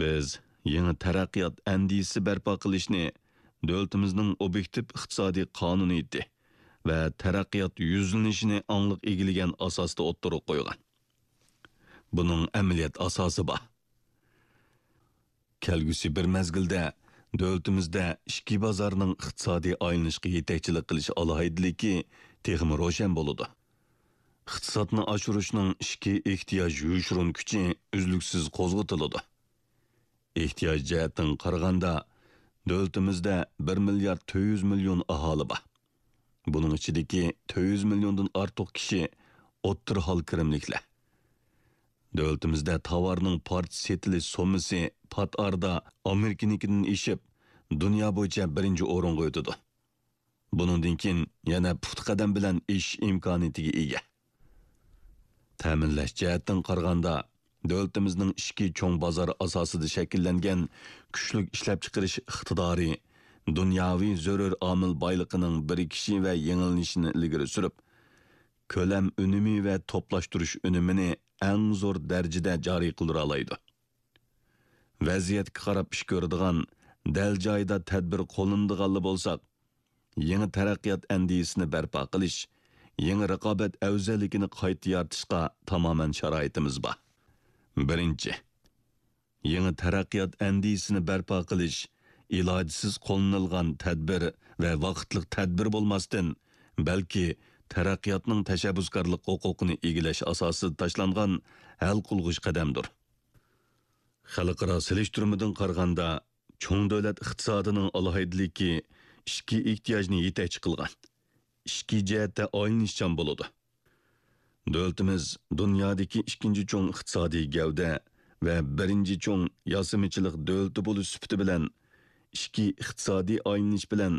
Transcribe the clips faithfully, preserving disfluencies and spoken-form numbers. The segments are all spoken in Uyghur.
بىز يېڭى تەرەققىيات ئەندىزىسى بەرپا قىلىشنى دۆلىتىمىزنىڭ ئوبيېكتىپ ئىقتىسادىي قانۇنىيىتى ۋە تەرەققىيات يۈزلىنىشىنى ئاڭلىق ئىگىلىگەن ئاساستا ئوتتۇرىغا قويغان. بۇنىڭ ئەمەلىيەت ئاساسى بار. كەلگۈسى بىر مەزگىلدە دۆلىتىمىزدە ئىچكى بازارنىڭ ئىقتىسادىي ئايلىنىشقا يېتەكچىلىك قىلىش ئالاھىدىلىكى تېخىمۇ روشەن بولىدۇ. ئىقتىسادنى ئاشۇرۇشنىڭ ئىچكى ئېھتىياج يوشۇرۇن كۈچى ئۈزلۈكسىز قوزغىتىلىدۇ. ئېھتىياج جەھەتتىن قارىغاندا، دۆلىتىمىزدە بىر مىليارد تۆت يۈز مىليون ئاھالى بار. بۇنىڭ ئىچىدىكى تۆت يۈز مىليوندىن ئارتۇق كىشى ئوتتۇرا ھال كىرىملىكلەر. دۆلىتىمىزدە تاۋارنىڭ پارچە سېتىلىش سوممىسى پات ئارىدا ئامېرىكىنىڭكىدىن ئېشىپ، دۇنيا بويىچە بىرىنچى ئورۇنغا ئۆتىدۇ. بۇنىڭدىن كېيىن يەنە پۇختا قەدەم بىلەن ئېشىش ئىمكانىيىتىگە ئىگە. تەمىنلەش جەھەتتىن قارىغاندا، دۆلىتىمىزنىڭ ئىچكى چوڭ بازار ئاساسىدا شەكىللەنگەن كۈچلۈك ئىشلەپچىقىرىش ئىقتىدارى دۇنياۋى زۆرۈر ئامىل بايلىقىنىڭ بىرىكىشى ۋە يېڭىلىنىشىنى ئىلگىرى سۈرۈپ، كۆلەم ئۈنۈمى ۋە توپلاشتۇرۇش ئۈنۈمىنى ئەڭ زور دەرىجىدە جارى قىلدۇرالايدۇ. ۋەزىيەتكە قاراپ ئىش كۆرىدىغان، دەل جايىدا تەدبىر قوللىنىدىغانلا بولساق، يېڭى تەرەققىيات ئەندىزىسىنى بەرپا قىلىش، يېڭى رىقابەت ئەۋزەللىكىنى قايتا يارىتىشقا تامامەن شارائىتىمىز بار. بىرىنچى، يېڭى تەرەققىيات ئەندىزىسىنى بەرپا قىلىش ئىلاجسىز قوللىنىلغان تەدبىر ۋە ۋاقىتلىق تەدبىر بولماستىن، بەلكى تەرەققىياتنىڭ تەشەببۇسكارلىق ھوقۇقىنى ئىگىلەش ئاساسىدا تاشلانغان ھەل قىلغۇچ قەدەمدۇر. خەلقئارا سېلىشتۇرمىدىن قارىغاندا، چوڭ دۆلەت ئىقتىسادىنىڭ ئالاھىدىلىكى ئىچكى ئېھتىياجنى يېتەكچى قىلغان، ئىچكى جەھەتتە ئايلىنىشچان بولىدۇ. دۆلىتىمىز دۇنيادىكى ئىككىنچى چوڭ ئىقتىسادىي گەۋدە ۋە بىرىنچى چوڭ ياسىمىچىلىق دۆلىتى بولۇش سۈپىتى بىلەن، ئىچكى ئىقتىسادىي ئايلىنىش بىلەن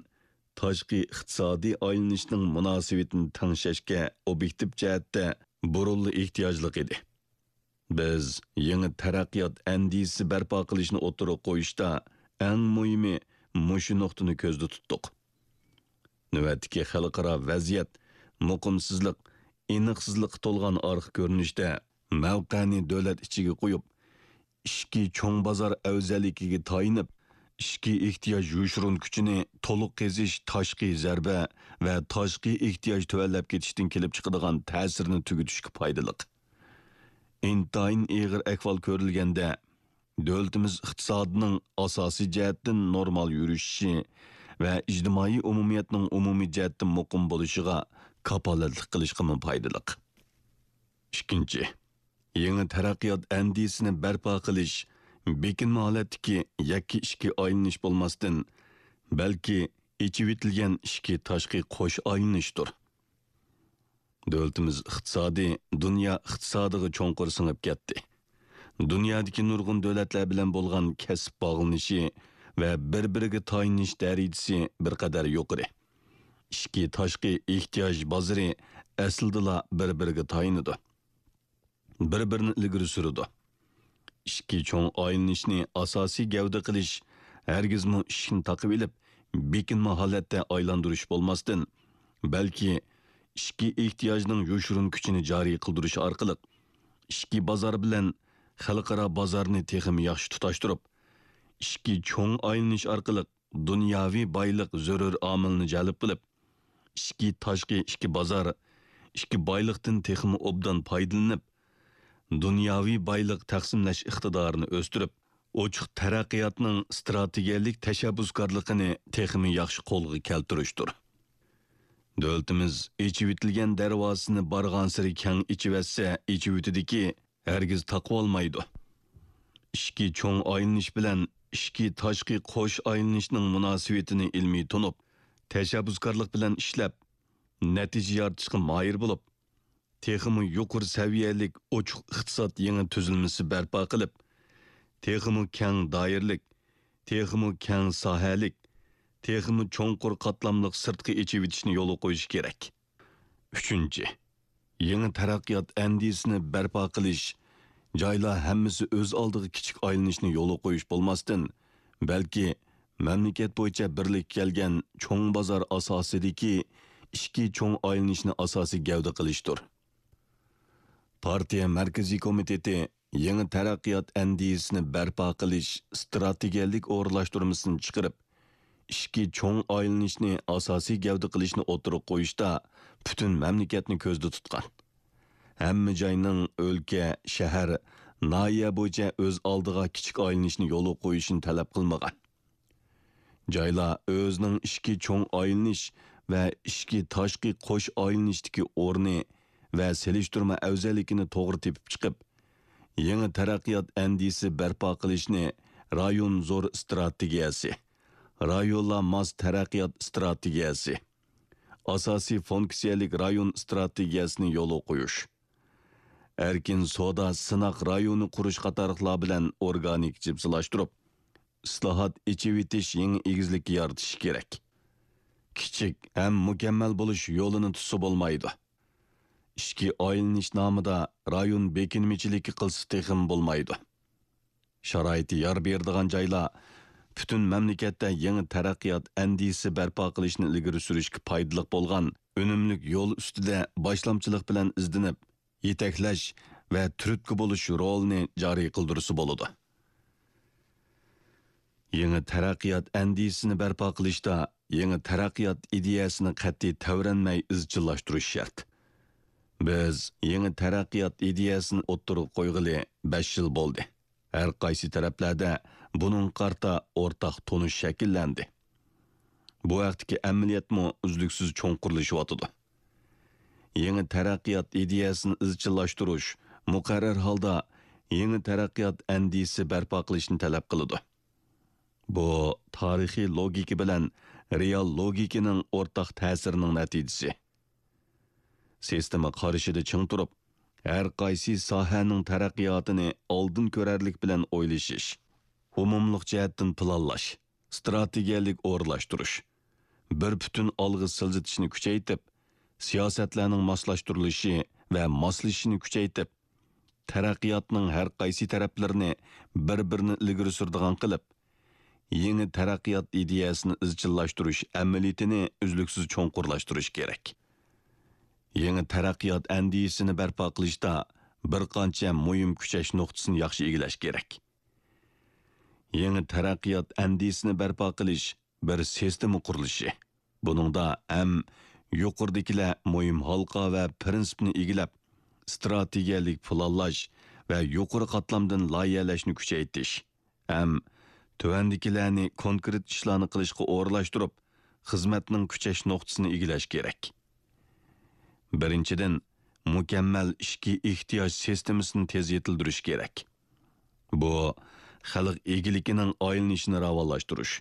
تاشقى ئىقتىسادىي ئايلىنىشنىڭ مۇناسىۋىتىنى تەڭشەشكە ئوبيېكتىپ جەھەتتە بۇرۇنلا ئېھتىياجلىق ئىدى. بىز يېڭى تەرەققىيات ئەندىزىسى بەرپا قىلىشنى ئوتتۇرىغا قويۇشتا، ئەڭ مۇھىمى مۇشۇ نۇقتىنى كۆزدە تۇتتۇق. نۆۋەتتىكى خەلقئارا ۋەزىيەت مۇقىمسىزلىق، ئېنىقسىزلىققا تولغان ئارقا كۆرۈنۈشتە، مەۋقەنى دۆلەت ئىچىگە قويۇپ، ئىچكى چوڭ بازار ئەۋزەللىكىگە تايىنىپ، ئىچكى ئېھتىياج يوشۇرۇن كۈچىنى تولۇق قېزىش تاشقى زەربە ۋە تاشقى ئېھتىياج تۆۋەنلەپ كېتىشتىن كېلىپ چىقىدىغان تەسىرنى تۈگىتىشكە پايدىلىق. ئىنتايىن ئېغىر ئەھۋال كۆرۈلگەندە، دۆلىتىمىز ئىقتىسادىنىڭ ئاساسىي جەھەتتىن نورمال يۈرۈشۈشى ۋە ئىجتىمائىي ئومۇمىيەتنىڭ ئومۇمىي جەھەتتىن مۇقىم بولۇشىغا كاپالەتلىك قىلىشقىمۇ پايدىلىق. ئىككىنچى، يېڭى تەرەققىيات ئەندىزىسىنى بەرپا قىلىش بېكىنمە ھالەتتىكى يەككە ئىچكى ئايلىنىش بولماستىن، بەلكى ئېچىۋېتىلگەن ئىچكى تاشقى قوش ئايلىنىشتۇر. دۆلىتىمىز ئىقتىسادى دۇنيا ئىقتىسادىغا چوڭقۇر سىڭىپ كەتتى. دۇنيادىكى نۇرغۇن دۆلەتلەر بىلەن بولغان كەسىپ باغلىنىشى ۋە بىر-بىرىگە تايىنىش دەرىجىسى بىر قەدەر يۇقىرى. ئىچكى تاشقى ئېھتىياج بازىرى ئەسلىدىلا بىر-بىرىگە تايىنىدۇ. بىر-بىرىنى ئىلگىرى سۈرىدۇ. ئىچكى چوڭ ئايلىنىشنى ئاساسىي گەۋدە قىلىش ھەرگىزمۇ ئىشىكنى تاقىۋېلىپ، بېكىنمە ھالەتتە ئايلاندۇرۇش بولماستىن، بەلكى ئىچكى ئېھتىياجنىڭ يوشۇرۇن كۈچىنى جارى قىلدۇرۇش ئارقىلىق، ئىچكى بازار بىلەن خەلقئارا بازارنى تېخىمۇ ياخشى تۇتاشتۇرۇپ، ئىچكى چوڭ ئايلىنىش ئارقىلىق دۇنياۋى بايلىق زۆرۈر ئامىلنى جەلپ قىلىپ، ئىچكى تاشقى ئىككى بازار، ئىككى بايلىقتىن تېخىمۇ ئوبدان پايدىلىنىپ، دۇنياۋى بايلىق تەقسىملەش ئىقتىدارىنى ئۆستۈرۈپ، ئوچۇق تەرەققىياتنىڭ ئىستراتېگىيەلىك تەشەببۇسكارلىقىنى تېخىمۇ ياخشى قولغا كەلتۈرۈشتۇر. دۆلىتىمىز ئېچىۋېتىلگەن دەرۋازىسىنى بارغانسېرى كەڭ ئېچىۋەتسە ئېچىۋېتىدىكى، ھەرگىز تاقىۋالمايدۇ. ئىچكى چوڭ ئايلىنىش بىلەن ئىچكى تاشقى قوش ئايلىنىشنىڭ مۇناسىۋىتىنى ئىلمىي تونۇپ، تەشەببۇسكارلىق بىلەن ئىشلەپ، نەتىجە يارىتىشقا ماھىر بولۇپ، تېخىمۇ يۇقىرى سەۋىيەلىك ئوچۇق ئىقتىساد يېڭى تۈزۈلمىسى بەرپا قىلىپ، تېخىمۇ كەڭ دائىرىلىك، تېخىمۇ كەڭ ساھەلىك، تېخىمۇ چوڭقۇر قاتلاملىق سىرتقا ئېچىۋېتىشنى يولغا قويۇش كېرەك. ئۈچىنچى، يېڭى تەرەققىيات ئەندىزىسىنى بەرپا قىلىش، جايلار ھەممىسى ئۆز ئالدىغا كىچىك ئايلىنىشنى يولغا قويۇش بولماستىن، بەلكى مەملىكەت بويىچە بىرلىككە كەلگەن چوڭ بازار ئاساسىدىكى ئىچكى چوڭ ئايلىنىشنى ئاساسىي گەۋدە قىلىشتۇر. پارتىيە مەركىزىي كومىتېتى يېڭى تەرەققىيات ئەندىزىسىنى بەرپا قىلىش ئىستراتېگىيەلىك ئورۇنلاشتۇرمىسىنى چىقىرىپ، ئىچكى چوڭ ئايلىنىشنى ئاساسىي گەۋدە قىلىشنى ئوتتۇرىغا قويۇشتا پۈتۈن مەملىكەتنى كۆزدە تۇتقان. ھەممە جاينىڭ ئۆلكە، شەھەر، ناھىيە بويىچە ئۆز ئالدىغا كىچىك ئايلىنىشنى يولغا قويۇشىنى تەلەپ قىلمىغان. جايلار ئۆزىنىڭ ئىچكى چوڭ ئايلىنىش ۋە ئىچكى تاشقى قوش ئايلىنىشتىكى ئورنى ۋە سېلىشتۇرما ئەۋزەللىكىنى توغرا تېپىپ چىقىپ، يېڭى تەرەققىيات ئەندىزىسى بەرپا قىلىشنى رايون زور ئىستراتېگىيەسى، رايونلار ماس تەرەققىيات ئىستراتېگىيەسى، ئاساسىي فۇنكسىيەلىك رايون ئىستراتېگىيەسىنى يولغا قويۇش، ئەركىن سودا سىناق رايونى قۇرۇش قاتارلىقلار بىلەن ئورگانىك جىپسىلاشتۇرۇپ، ئىسلاھات، ئېچىۋېتىش يېڭى ئېگىزلىكى يارىتىشى كېرەك. كىچىك ھەم مۇكەممەل بولۇش يولىنى تۇتسا بولمايدۇ. ئىچكى ئايلىنىش نامىدا رايون بېكىنمىچىلىكى قىلسا تېخىمۇ بولمايدۇ. شارائىتى يار بېرىدىغان جايلار پۈتۈن مەملىكەتتە يېڭى تەرەققىيات ئەندىزىسى بەرپا قىلىشنى ئىلگىرى سۈرۈشكە پايدىلىق بولغان ئۈنۈملۈك يول ئۈستىدە باشلامچىلىق بىلەن ئىزدىنىپ، يېتەكلەش ۋە تۈرتكە بولۇش رولىنى جارى قىلدۇرسا بولىدۇ. يېڭى تەرەققىيات ئەندىزىسىنى بەرپا قىلىشتا يېڭى تەرەققىيات ئىدىيەسىنى قەتئىي تەۋرەنمەي ئىزچىللاشتۇرۇش شەرت. بىز يېڭى تەرەققىيات ئىدىيەسىنى ئوتتۇرىغا قويغىلى بەش يىل بولدى. ھەر قايسى تەرەپلەردە بۇنىڭغا قارىتا ئورتاق تونۇش شەكىللەندى. بۇ ھەقتىكى ئەمەلىيەتمۇ ئۈزلۈكسىز چوڭقۇرلىشىۋاتىدۇ. يېڭى تەرەققىيات ئىدىيەسىنى ئىزچىللاشتۇرۇش مۇقەررەر ھالدا يېڭى تەرەققىيات ئەندىزىسى بەرپا قىلىشنى تەلەپ قىلىدۇ. بۇ تارىخىي لوگىكا بىلەن رېئال لوگىكىنىڭ ئورتاق تەسىرىنىڭ نەتىجىسى. سىستېما قارىشىدا چىڭ تۇرۇپ، ھەر قايسى ساھەنىڭ تەرەققىياتىنى ئالدىن كۆرەرلىك بىلەن ئويلىشىش، ئومۇملۇق جەھەتتىن پىلانلاش، ئىستراتېگىيەلىك ئورۇنلاشتۇرۇش، بىر پۈتۈن ئالغا سىلجىتىشنى كۈچەيتىپ، سىياسەتلەرنىڭ ماسلاشتۇرۇلۇشى ۋە ماسلىشىشىنى كۈچەيتىپ، تەرەققىياتنىڭ ھەر قايسى تەرەپلىرىنى بىر-بىرىنى ئىلگىرى سۈرىدىغان قىلىپ، يېڭى تەرەققىيات ئىدىيەسىنى ئىزچىللاشتۇرۇش ئەمەلىيىتىنى ئۈزلۈكسىز چوڭقۇرلاشتۇرۇش كېرەك. يېڭى تەرەققىيات ئەندىزىسىنى بەرپا قىلىشتا بىر قانچە مۇھىم كۈچەش نۇقتىسىنى ياخشى ئىگىلەش كېرەك. يېڭى تەرەققىيات ئەندىزىسىنى بەرپا قىلىش بىر سىستېما قۇرۇلۇشى. بۇنىڭدا ھەم يۇقىرىدىكىلەر مۇھىم ھالقا ۋە پىرىنسىپنى ئىگىلەپ، ئىستراتېگىيەلىك پىلانلاش ۋە يۇقىرى قاتلامدىن لايىھەلەشنى كۈچەيتىش ھەم تۆۋەندىكىلەرنى كونكرېت ئىشلارنى قىلىشقا ئورۇنلاشتۇرۇپ، خىزمەتنىڭ كۈچەش نۇقتىسىنى ئىگىلەش كېرەك. بىرىنچىدىن، مۇكەممەل ئىچكى ئېھتىياج سىستېمىسىنى تېز يېتىلدۈرۈش كېرەك. بۇ، خەلق ئىگىلىكىنىڭ ئايلىنىشىنى راۋانلاشتۇرۇش،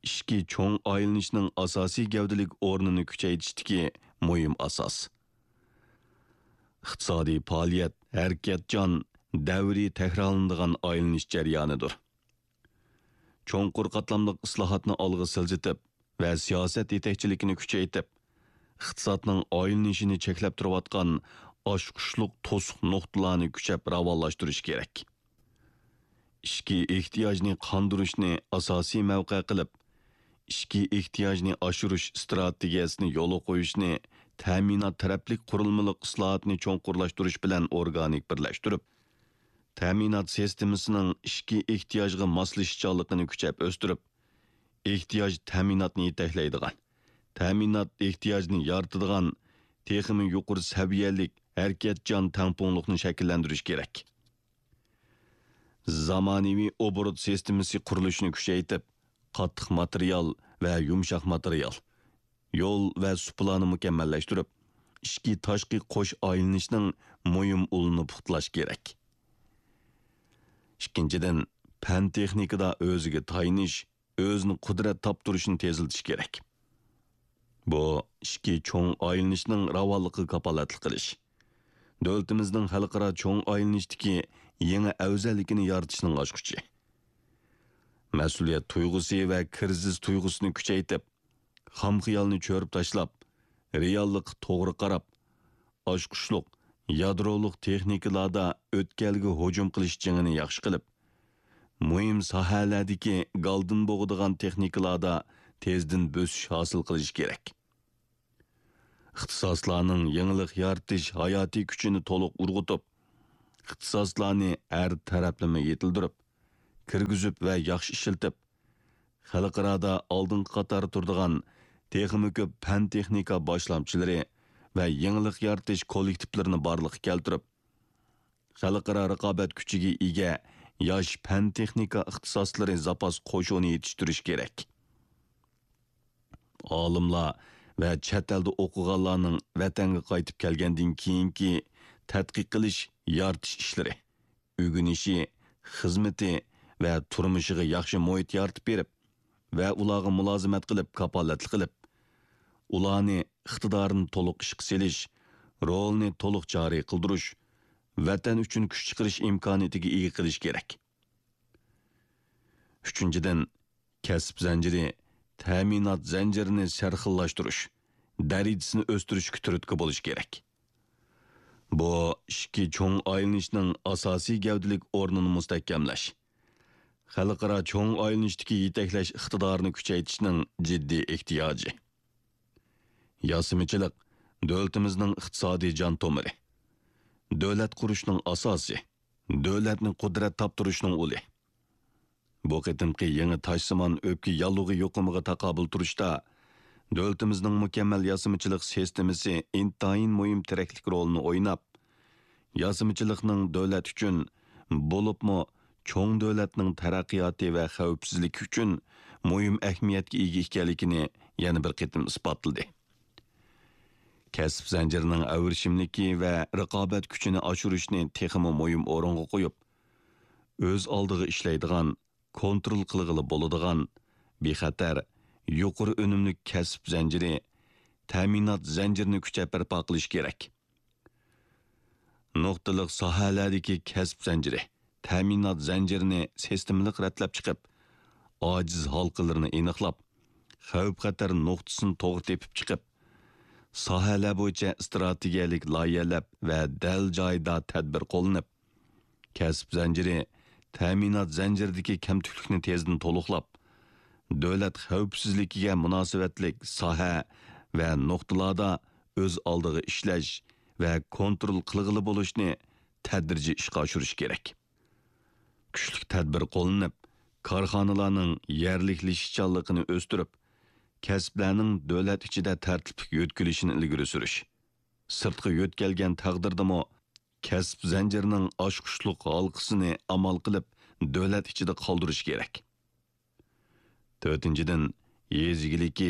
ئىچكى چوڭ ئايلىنىشنىڭ ئاساسىي گەۋدىلىك ئورنىنى كۈچەيتىشتىكى مۇھىم ئاساس. ئىقتىسادىي پائالىيەت ھەرىكەتچان، دەۋرىي تەكرارلىنىدىغان ئايلىنىش جەريانىدۇر. چوڭقۇر قاتلاملىق ئىسلاھاتنى ئالغا سىلجىتىپ ۋە سىياسەت يېتەكچىلىكىنى كۈچەيتىپ، ئىقتىسادنىڭ ئايلىنىشىنى چەكلەپ تۇرۇۋاتقان ئاچقۇچلۇق توسۇق نۇقتىلارنى كۈچەپ راۋانلاشتۇرۇش كېرەك. ئىچكى ئېھتىياجنى قاندۇرۇشنى ئاساسىي مەۋقە قىلىپ، ئىچكى ئېھتىياجنى ئاشۇرۇش ئىستراتېگىيەسىنى يولغا قويۇشنى تەمىنات تەرەپلىك قۇرۇلمىلىق ئىسلاھاتنى چوڭقۇرلاشتۇرۇش بىلەن ئورگانىك بىرلەشتۈرۈپ، تەمىنات سىستېمىسىنىڭ ئىچكى ئېھتىياجغا ماسلىشىشچانلىقىنى كۈچەپ ئۆستۈرۈپ، ئېھتىياج تەمىناتنى يېتەكلەيدىغان، تەمىنات ئېھتىياجنى يارىتىدىغان تېخىمۇ يۇقىرى سەۋىيەلىك ھەرىكەتچان تەڭپۇڭلۇقنى شەكىللەندۈرۈش كېرەك. زامانىۋى ئوبوروت سىستېمىسى قۇرۇلۇشىنى كۈچەيتىپ، قاتتىق ماتېرىيال ۋە يۇمشاق ماتېرىيال، يول ۋە سۇپىلارنى مۇكەممەللەشتۈرۈپ، ئىچكى تاشقى قوش ئايلىنىشنىڭ مۇھىم ئۇلىنى پۇختىلاش كېرەك. ئىككىنچىدىن، پەن تېخنىكىدا ئۆزىگە تايىنىش، ئۆزىنى قۇدرەت تاپتۇرۇشنى تېزلىتىش كېرەك. بۇ ئىچكى چوڭ ئايلىنىشنىڭ راۋانلىقىغا كاپالەتلىك قىلىش، دۆلىتىمىزنىڭ خەلقئارا چوڭ ئايلىنىشتىكى يېڭى ئەۋزەللىكىنى يارىتىشنىڭ ئاچقۇچى. مەسئۇلىيەت تۇيغۇسى ۋە كىرىزىس تۇيغۇسىنى كۈچەيتىپ، خام خىيالنى چۆرۈپ تاشلاپ، رېئاللىققا توغرا قاراپ، ئاچقۇچلۇق، يادرولۇق تېخنىكىلاردا ئۆتكەلگە ھۇجۇم قىلىش جېڭىنى ياخشى قىلىپ، مۇھىم ساھەلەردىكى گالدىن بوغىدىغان تېخنىكىلاردا تېزدىن بۆسۈش ھاسىل قىلىش كېرەك. ئىختىساسلارنىڭ يېڭىلىق يارىتىش ھاياتىي كۈچىنى تولۇق ئۇرغۇتۇپ، ئىختىساسلارنى ھەر تەرەپلىمە يېتىلدۈرۈپ، كىرگۈزۈپ ۋە ياخشى ئىشلىتىپ، خەلقئارادا ئالدىنقى قاتاردا تۇرىدىغان تېخىمۇ كۆپ پەن-تېخنىكا باشلامچىلىرى ۋە يېڭىلىق يارىتىش كوللېكتىپلىرىنى بارلىققا كەلتۈرۈپ، خەلقئارا رىقابەت كۈچىگە ئىگە ياش پەن-تېخنىكا ئىختىساسلىرى زاپاس قوشۇنى يېتىشتۈرۈش كېرەك. ئالىملار ۋە چەت ئەلدە ئوقۇغانلارنىڭ ۋەتەنگە قايتىپ كەلگەندىن كېيىنكى تەتقىق قىلىش، يارىتىش ئىشلىرى، ئۆگىنىشى، خىزمىتى ۋە تۇرمۇشىغا ياخشى مۇھىت يارىتىپ بېرىپ ۋە ئۇلارغا مۇلازىمەت قىلىپ، كاپالەتلىك قىلىپ، ئۇلارنى ئىقتىدارىنى تولۇق ئىشقا سېلىش، رولىنى تولۇق جارى قىلدۇرۇش، ۋەتەن ئۈچۈن كۈچ چىقىرىش ئىمكانىيىتىگە ئىگە قىلىش كېرەك. ئۈچىنچىدىن، كەسىپ زەنجىرى، تەمىنات زەنجىرىنى سەرخىللاشتۇرۇش، دەرىجىسىنى ئۆستۈرۈشكە تۈرتكە بولۇش كېرەك. بۇ ئىككى چوڭ ئايلىنىشنىڭ ئاساسىي گەۋدىلىك ئورنىنى مۇستەھكەملەش، خەلقئارا چوڭ ئايلىنىشتىكى يېتەكلەش ئىقتىدارىنى كۈچەيتىشنىڭ جىددىي ئېھتىياجى. ياسىمىچىلىق دۆلىتىمىزنىڭ ئىقتىسادىي جان تومۇرى، دۆلەت قۇرۇشنىڭ ئاساسى، دۆلەتنى قۇدرەت تاپتۇرۇشنىڭ ئۇلى. بۇ قېتىمقى يېڭى تاشسىمان ئۆپكە ياللۇغى يۇقۇمىغا تاقابىل تۇرۇشتا، دۆلىتىمىزنىڭ مۇكەممەل ياسىمىچىلىق سىستېمىسى ئىنتايىن مۇھىم تىرەكلىك رولىنى ئويناپ، ياسىمىچىلىقنىڭ دۆلەت ئۈچۈن، بولۇپمۇ چوڭ دۆلەتنىڭ تەرەققىياتى ۋە خەۋپسىزلىكى ئۈچۈن مۇھىم ئەھمىيەتكە ئىگە ئىكەنلىكىنى يەنە بىر قېتىم ئىسپاتلىدى. كەسىپ زەنجىرىنىڭ ئەۋرىشىملىكى ۋە رىقابەت كۈچىنى ئاشۇرۇشنى تېخىمۇ مۇھىم ئورۇنغا قويۇپ، ئۆز ئالدىغا ئىشلەيدىغان، كونترول قىلغىلى بولىدىغان، بىخەتەر، يۇقىرى ئۈنۈملۈك كەسىپ زەنجىرى، تەمىنات زەنجىرىنى كۈچەپ بەرپا قىلىش كېرەك. نۇقتىلىق ساھەلەردىكى كەسىپ زەنجىرى، تەمىنات زەنجىرىنى سىستېمىلىق رەتلەپ چىقىپ، ئاجىز ھالقىلىرىنى ئېنىقلاپ، خەۋپ-خەتەر نۇقتىسىنى توغرا تېپىپ چىقىپ، ساھەلەر بويىچە ئىستراتېگىيەلىك لايىھەلەپ ۋە دەل جايىدا تەدبىر قوللىنىپ، كەسىپ زەنجىرى، تەمىنات زەنجىرىدىكى كەمتۈكلۈكنى تېزدىن تولۇقلاپ، دۆلەت خەۋپسىزلىكىگە مۇناسىۋەتلىك ساھە ۋە نۇقتىلاردا ئۆز ئالدىغا ئىشلەش ۋە كونترول قىلغىلى بولۇشنى تەدرىجىي ئىشقا ئاشۇرۇش كېرەك. كۈچلۈك تەدبىر قوللىنىپ، كارخانىلارنىڭ يەرلىكلىشىشچانلىقىنى ئۆستۈرۈپ، كەسىپلەرنىڭ دۆلەت ئىچىدە تەرتىپلىك يۆتكىلىشىنى ئىلگىرى سۈرۈش، سىرتقا يۆتكەلگەن تەقدىردىمۇ، كەسىپ زەنجىرىنىڭ ئاچقۇچلۇق ھالقىسىنى ئامال قىلىپ، دۆلەت ئىچىدە قالدۇرۇش كېرەك. تۆتىنچىدىن، يېزا ئىگىلىكى،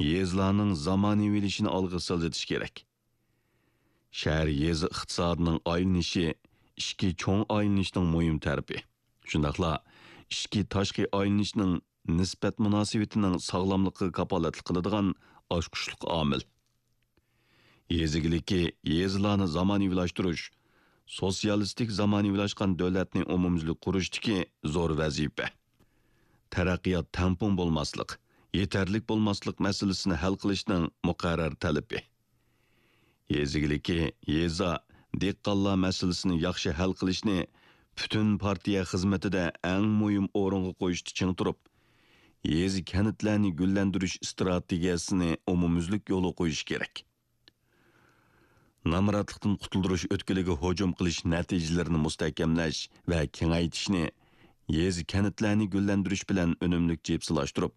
يېزىلارنىڭ زامانىۋىلىشىشىنى ئالغا سىلجىتىش كېرەك. شەھەر يېزا ئىقتىسادىنىڭ ئايلىنىشى ئىچكى چوڭ ئايلىنىشنىڭ مۇھىم تەرىپى، شۇنداقلا ئىچكى تاشقى ئايلىنىشنىڭ نىسبەت مۇناسىۋىتىنىڭ ساغلاملىقىغا كاپالەتلىك قىلىدىغان ئاچقۇچلۇق ئامىل. يېزا ئىگىلىكى، يېزىلارنى زامانىۋىلاشتۇرۇش، سوتسىيالىستىك زامانىۋىلاشقان دۆلەتنى ئومۇميۈزلۈك قۇرۇشتىكى زور ۋەزىپە. تەرەققىيات تەڭپۇڭ بولماسلىق، يېتەرلىك بولماسلىق مەسىلىسىنى ھەل قىلىشنىڭ مۇقەررەر تەلىپى. يېزا ئىگىلىكى، يېزا، دېھقانلار مەسىلىسىنى ياخشى ھەل قىلىشنى پۈتۈن پارتىيە خىزمىتىدە ئەڭ مۇھىم ئورۇنغا قويۇشتا چىڭ تۇرۇپ، يېزا، كەنتلەرنى گۈللەندۈرۈش ئىستراتېگىيەسىنى ئومۇميۈزلۈك يولغا قويۇش كېرەك. نامراتلىقتىن قۇتۇلدۇرۇش ئۆتكىلىگە ھۇجۇم قىلىش نەتىجىلىرىنى مۇستەھكەملەش ۋە كېڭەيتىشنى، يېزا، كەنتلەرنى گۈللەندۈرۈش بىلەن ئۈنۈملۈك جىپسىلاشتۇرۇپ،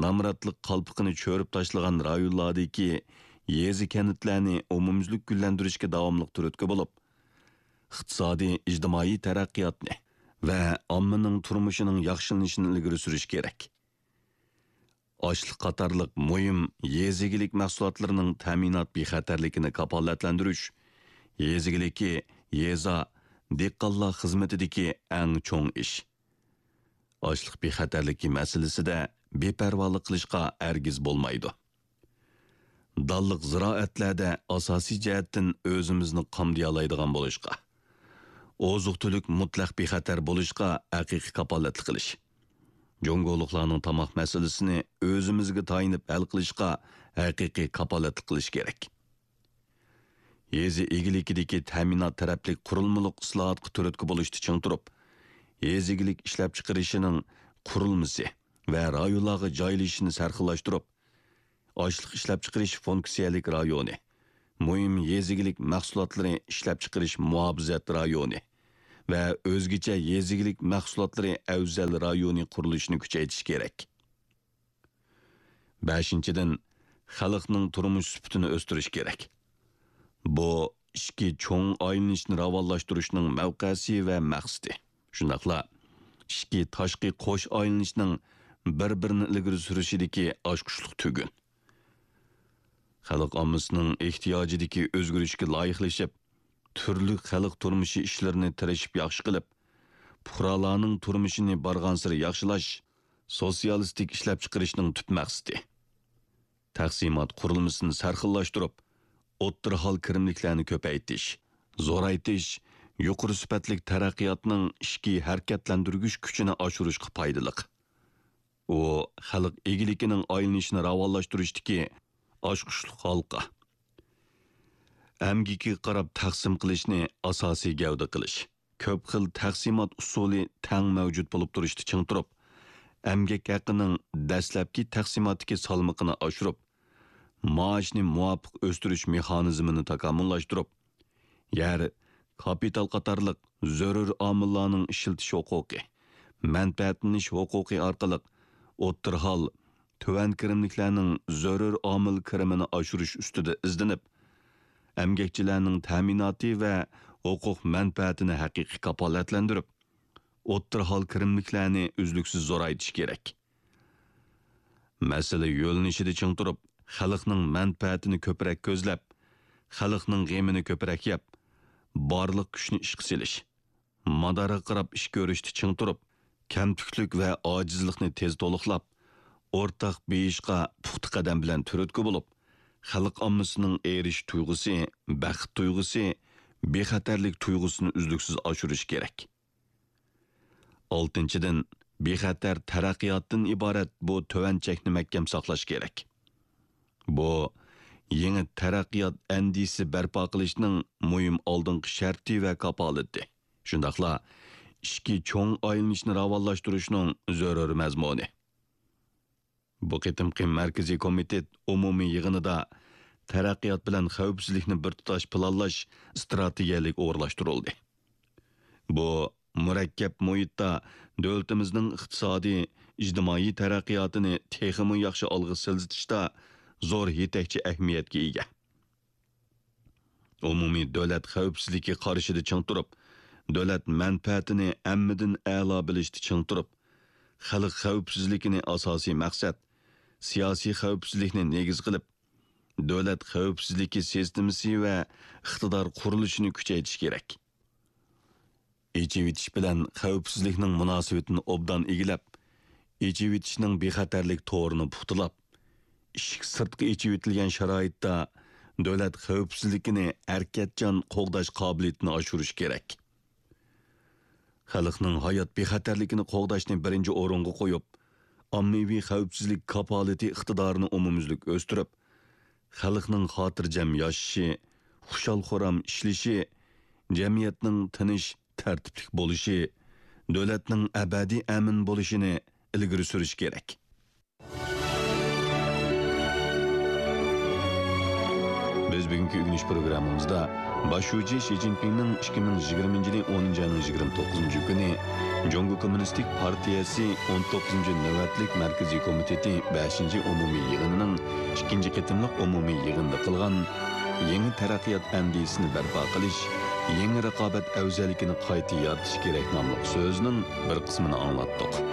نامراتلىق قالپىقىنى چۆرۈپ تاشلىغان رايونلاردىكى يېزا، كەنتلەرنى ئومۇميۈزلۈك گۈللەندۈرۈشكە داۋاملىق تۈرتكە بولۇپ، ئىقتىسادىي، ئىجتىمائىي تەرەققىياتنى ۋە ئاممىنىڭ تۇرمۇشىنىڭ ياخشىلىنىشىنى ئىلگىرى سۈرۈش كېرەك. ئاشلىق قاتارلىق مۇھىم يېزا ئىگىلىك مەھسۇلاتلىرىنىڭ تەمىنات بىخەتەرلىكىنى كاپالەتلەندۈرۈش، يېزا ئىگىلىكى، يېزا، دېھقانلار خىزمىتىدىكى ئەڭ چوڭ ئىش. ئاشلىق بىخەتەرلىكى مەسىلىسىدە بىپەرۋالىق قىلىشقا ھەرگىز بولمايدۇ. دانلىق زىرائەتلەردە ئاساسىي جەھەتتىن ئۆزىمىزنى قامدىيالايدىغان بولۇشقا، ئوزۇق-تۈلۈك مۇتلەق بىخەتەر بولۇشقا ھەقىقىي كاپالەتلىك قىلىش، جۇڭگولۇقلارنىڭ تاماق مەسىلىسىنى ئۆزىمىزگە تايىنىپ ھەل قىلىشقا ھەقىقىي كاپالەتلىك قىلىش كېرەك. يېزا ئىگىلىكىدىكى تەمىنات تەرەپلىك قۇرۇلمىلىق ئىسلاھاتقا تۈرتكە بولۇشتا چىڭ تۇرۇپ، يېزا ئىگىلىك ئىشلەپچىقىرىشىنىڭ قۇرۇلمىسى ۋە رايونلارغا جايلىشىشىنى سەرخىللاشتۇرۇپ، ئاشلىق ئىشلەپچىقىرىش فۇنكسىيەلىك رايونى، مۇھىم يېزا ئىگىلىك مەھسۇلاتلىرى ئىشلەپچىقىرىش مۇھاپىزەت رايونى ۋە ئۆزگىچە يېزا ئىگىلىك مەھسۇلاتلىرى ئەۋزەل رايونى قۇرۇلۇشىنى كۈچەيتىش كېرەك. بەشىنچىدىن، خەلقنىڭ تۇرمۇش سۈپىتىنى ئۆستۈرۈش كېرەك. بۇ ئىچكى چوڭ ئايلىنىشنى راۋانلاشتۇرۇشنىڭ مەۋقەسى ۋە مەقسىتى. شۇنداقلا ئىچكى تاشقى قوش ئايلىنىشنىڭ بىر-بىرىنى ئىلگىرى سۈرۈشىدىكى ئاچقۇچلۇق تۈگۈن. خەلق ئاممىسىنىڭ ئېھتىياجىدىكى ئۆزگىرىشكە لايىقلىشىپ، تۈرلۈك خەلق تۇرمۇشى ئىشلىرىنى تىرىشىپ ياخشى قىلىپ، پۇقرالارنىڭ تۇرمۇشىنى بارغانسېرى ياخشىلاش، سوتسىيالىستىك ئىشلەپچىقىرىشنىڭ تۈپ مەقسىتى. تەقسىمات قۇرۇلمىسىنى سەرخىللاشتۇرۇپ، ئوتتۇرا ھال كىرىملىكلەرنى كۆپەيتىش، زورايتىش، يۇقىرى سۈپەتلىك تەرەققىياتنىڭ ئىچكى ھەرىكەتلەندۈرگۈچ كۈچىنى ئاشۇرۇشقا پايدىلىق. ئۇ خەلق ئىگىلىكىنىڭ ئايلىنىشىنى راۋانلاشتۇرۇشتىكى ئاچقۇچلۇق ھالقا. ئەمگىكىگە قاراپ تەقسىم قىلىشنى ئاساسىي گەۋدە قىلىش. كۆپ خىل تەقسىمات ئۇسۇلى تەڭ مەۋجۇت بولۇپ تۇرۇشتا چىڭ تۇرۇپ، ئەمگەك ھەققىنىڭ دەسلەپكى تەقسىماتتىكى سالمىقىنى ئاشۇرۇپ، مائاشنى مۇۋاپىق ئۆستۈرۈش مېخانىزمىنى تاكامۇللاشتۇرۇپ، يەر، كاپىتال قاتارلىق زۆرۈر ئامىللارنىڭ ئىشلىتىش ھوقۇقى، مەنپەئەتلىنىش ھوقۇقى ئارقىلىق ئوتتۇرا ھال، تۆۋەن كىرىملىكلەرنىڭ زۆرۈر ئامىل كىرىمىنى ئاشۇرۇش ئۈستىدە ئىزدىنىپ، ئەمگەكچىلەرنىڭ تەمىناتى ۋە ھوقۇق مەنپەئەتىنى ھەقىقىي كاپالەتلەندۈرۈپ، ئوتتۇرا ھال كىرىملىكلەرنى ئۈزلۈكسىز زورايتىش كېرەك. مەسىلە يۆنىلىشىدە چىڭ تۇرۇپ، خەلقنىڭ مەنپەئەتىنى كۆپرەك كۆزلەپ، خەلقنىڭ غېمىنى كۆپرەك يەپ، بارلىق كۈچنى ئىشقا سېلىش، مادارغا قاراپ ئىش كۆرۈشتە چىڭ تۇرۇپ، كەمتۈكلۈك ۋە ئاجىزلىقنى تېز تولۇقلاپ، ئورتاق بېيىشقا پۇختا قەدەم بىلەن تۈرتكە بولۇپ، خەلق ئاممىسىنىڭ ئېرىشىش تۇيغۇسى، بەخت تۇيغۇسى، بىخەتەرلىك تۇيغۇسىنى ئۈزلۈكسىز ئاشۇرۇش كېرەك. ئالتىنچىدىن، بىخەتەر تەرەققىياتتىن ئىبارەت بۇ تۆۋەن چەكنى مەھكەم ساقلاش كېرەك. بۇ، يېڭى تەرەققىيات ئەندىزىسى بەرپا قىلىشنىڭ مۇھىم ئالدىنقى شەرتى ۋە كاپالىتى. شۇنداقلا ئىچكى چوڭ ئايلىنىشنى راۋانلاشتۇرۇشنىڭ زۆرۈر مەزمۇنى. بۇ قېتىمقى مەركىزىي كومىتېت ئومۇمىي يىغىنىدا تەرەققىيات بىلەن خەۋپسىزلىكنى بىر تۇتاش پىلانلاش ئىستراتېگىيەلىك ئورۇنلاشتۇرۇلدى. بۇ مۇرەككەپ مۇھىتتا دۆلىتىمىزنىڭ ئىقتىسادىي، ئىجتىمائىي تەرەققىياتىنى تېخىمۇ ياخشى ئالغا سىلجىتىشتا زور يېتەكچى ئەھمىيەتكە ئىگە. ئومۇمىي دۆلەت خەۋپسىزلىكى قارىشىدا چىڭ تۇرۇپ، دۆلەت مەنپەئەتىنى ھەممىدىن ئەلا بىلىشتە چىڭ تۇرۇپ، خەلق خەۋپسىزلىكىنى ئاساسىي مەقسەت، سىياسىي خەۋپسىزلىكنى نېگىز قىلىپ، دۆلەت خەۋپسىزلىكى سىستېمىسى ۋە ئىقتىدار قۇرۇلۇشىنى كۈچەيتىش كېرەك. ئېچىۋېتىش بىلەن خەۋپسىزلىكنىڭ مۇناسىۋىتىنى ئوبدان ئىگىلەپ، ئېچىۋېتىشنىڭ بىخەتەرلىك تورىنى پۇختىلاپ، ئىشىك سىرتقا ئېچىۋېتىلگەن شارائىتتا دۆلەت خەۋپسىزلىكىنى ھەرىكەتچان قوغداش قابىلىيىتىنى ئاشۇرۇش كېرەك. خەلقنىڭ ھايات بىخەتەرلىكىنى قوغداشنى بىرىنچى ئورۇنغا قويۇپ، ئاممىۋى خەۋپسىزلىك كاپالىتى ئىقتىدارىنى ئومۇميۈزلۈك ئۆستۈرۈپ، خەلقنىڭ خاتىرجەم ياشىشى، خۇشال-خۇرام ئىشلىشى، جەمئىيەتنىڭ تىنچ، تەرتىپلىك بولۇشى، دۆلەتنىڭ ئەبەدىي ئەمىن بولۇشىنى ئىلگىرى سۈرۈش كېرەك. بىز بۈگۈنكى ئۆگىنىش پروگراممىمىزدا باش شۇجى شى جىنپىڭنىڭ ئىككى مىڭ يىگىرمىنچى يىلى ئونىنچى ئاينىڭ يىگىرمە توققۇزىنچى كۈنى جۇڭگو كوممۇنىستىك پارتىيەسى ئون توققۇزىنچى نۆۋەتلىك مەركىزىي كومىتېتى بەشىنچى ئومۇمىي يىغىنىنىڭ ئىككىنچى قېتىملىق ئومۇمىي يىغىنىدا قىلغان يېڭى تەرەققىيات ئەندىزىسىنى بەرپا قىلىش، يېڭى رىقابەت ئەۋزەللىكىنى قايتا يارىتىش كېرەك ناملىق سۆزىنىڭ بىر قىسمىنى ئاڭلاتتۇق.